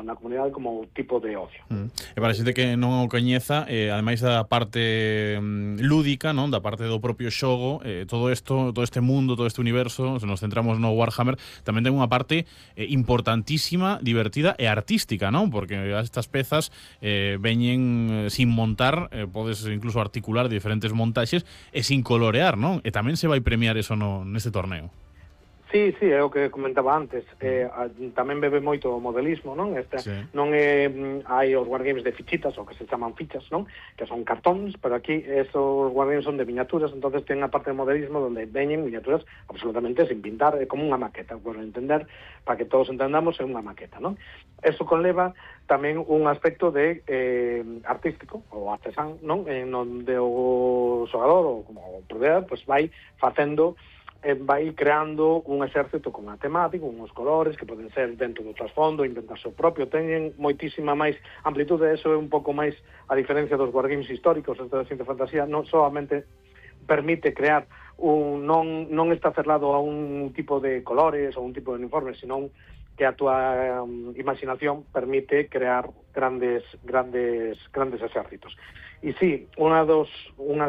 na comunidade como tipo de ocio. E para a xente que non o coñeza, ademais da parte lúdica, non, da parte do propio xogo, todo este mundo, todo este universo, se nos centramos no Warhammer, tamén ten unha parte importantísima, divertida e artística, non? Porque estas pezas veñen sin montar, podes incluso articular diferentes montaxes e sin colorear, non? E tamén se vai premiar eso neste torneo. Sí, é o que comentaba antes. Tamén bebe moito o modelismo, non? Non hai os wargames de fichitas, o que se chaman fichas, non? Que son cartóns, pero aquí esos wargames son de miniaturas, entonces ten a parte de modelismo donde veñen miniaturas absolutamente sin pintar, é como unha maqueta, por entender, para que todos entendamos, é unha maqueta, non? Eso conleva tamén un aspecto de artístico, ou artesán, non? Onde o xogador, ou como o proveedor, pues vai facendo vai creando un exército con a temática, uns colores que poden ser dentro do trasfondo, inventarse o propio, teñen moitísima máis amplitude, eso é un pouco máis a diferencia dos wargames históricos, esta ciencia e fantasía, non solamente permite crear non está cerrado a un tipo de colores ou un tipo de uniformes, senón que a túa imaginación permite crear grandes exércitos. E sí, unha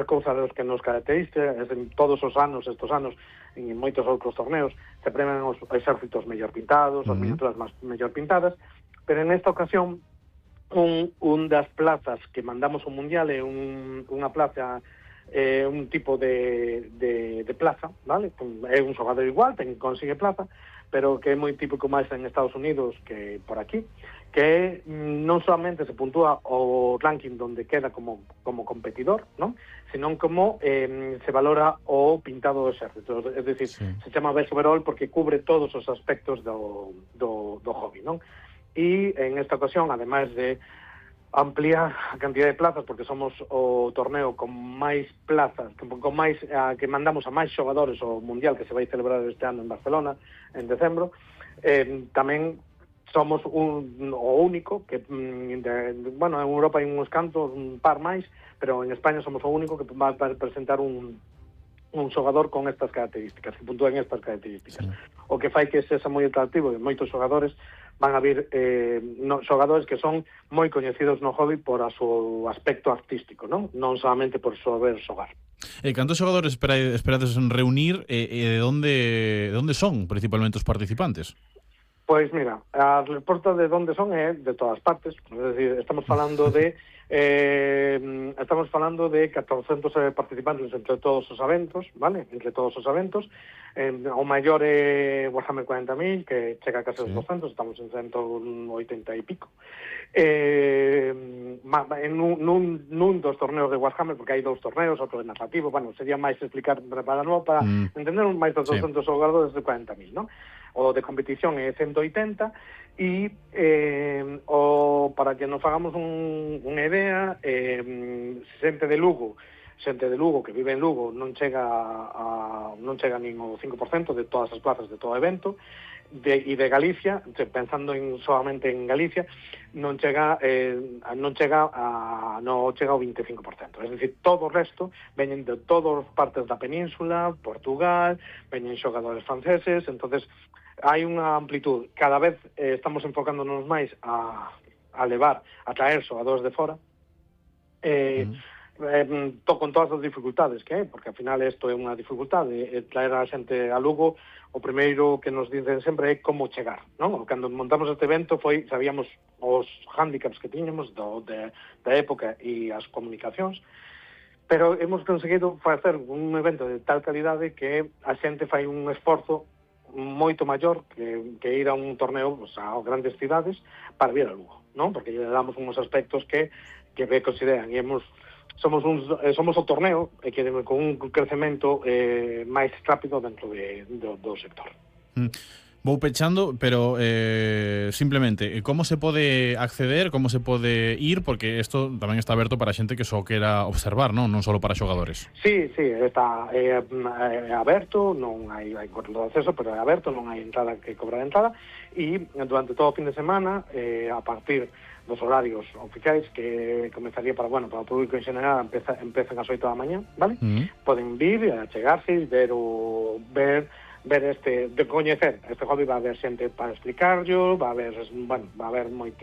cousa dos que nos caracteriza é en todos os anos, estos anos, en moitos outros torneos, se premian os exércitos mellor pintados, as miniaturas mellor pintadas, pero en esta ocasión, un das plazas que mandamos ao Mundial é unha plaza, un tipo de plaza, vale? É un xogador igual, consigue plaza, pero que é moi típico máis en Estados Unidos que por aquí, que non solamente se puntúa o ranking donde queda como competidor, non? Senón como se valora o pintado do exército, é dicir, se chama best overall porque cubre todos os aspectos do hobby, non? E en esta ocasión, ademais de ampliar a cantidad de plazas, porque somos o torneo con máis plazas, que mandamos a máis xogadores ao Mundial que se vai celebrar este ano en Barcelona, en decembro, tamén somos o único que, bueno, en Europa hai uns cantos, un par máis, pero en España somos o único que va a presentar un xogador con estas características, que puntúen estas características. O que fai que sexa moi atractivo e moitos xogadores van a vir xogadores que son moi coñecidos no hobby por o seu aspecto artístico, non solamente por saber xogar. Cantos xogadores esperades reunir e de onde son principalmente os participantes? Pois mira, a resposta de onde son é de todas partes, é dicir, estamos falando de 400 participantes entre todos os eventos, vale? Entre todos os eventos. O maior é Warhammer 40.000, que chega a case os 200, estamos en 180 e pico. Nun dos torneos de Warhammer, porque hai dous torneos, outro de narrativo, bueno, sería máis explicar para entender máis dos 200 xogadores de 40.000, non? O de competición é 180 e para que nos fagamos unha idea, xente de Lugo que vive en Lugo non chega nin o 5% de todas as plazas de todo evento, e de Galicia, pensando solamente en Galicia, non chega ao 25%. É dicir, todo o resto veñen de todas partes da península, Portugal, veñen xogadores franceses, entonces hai unha amplitud. Cada vez estamos enfocándonos máis a traer xogadores de fora, con todas as dificultades que hai, porque ao final isto é unha dificultade, traer a xente a Lugo. O primeiro que nos dicen sempre é como chegar, non? Cando montamos este evento sabíamos os hándicaps que tiñamos da época e as comunicacións, pero hemos conseguido facer un evento de tal calidade que a xente fai un esforzo moito maior que ir a un torneo a grandes cidades para vir a Lugo, non? Porque lle damos uns aspectos que consideran, e somos o torneo que con un crecemento máis rápido dentro do sector. Vou pechando, pero simplemente, como se pode acceder, como se pode ir, porque isto tamén está aberto para xente que só quera observar, non só para xogadores. Sí, está aberto, non hai control de acceso, pero é aberto, non hai entrada que cobrar entrada, e durante todo o fin de semana, a partir dos horarios oficiais que comenzaría para o público en general, empezan ás 8 da mañá, vale? Poden vir, chegarse, ver de coñecer este hobby, va a haber xente para explicarlo, va a haber moitísimo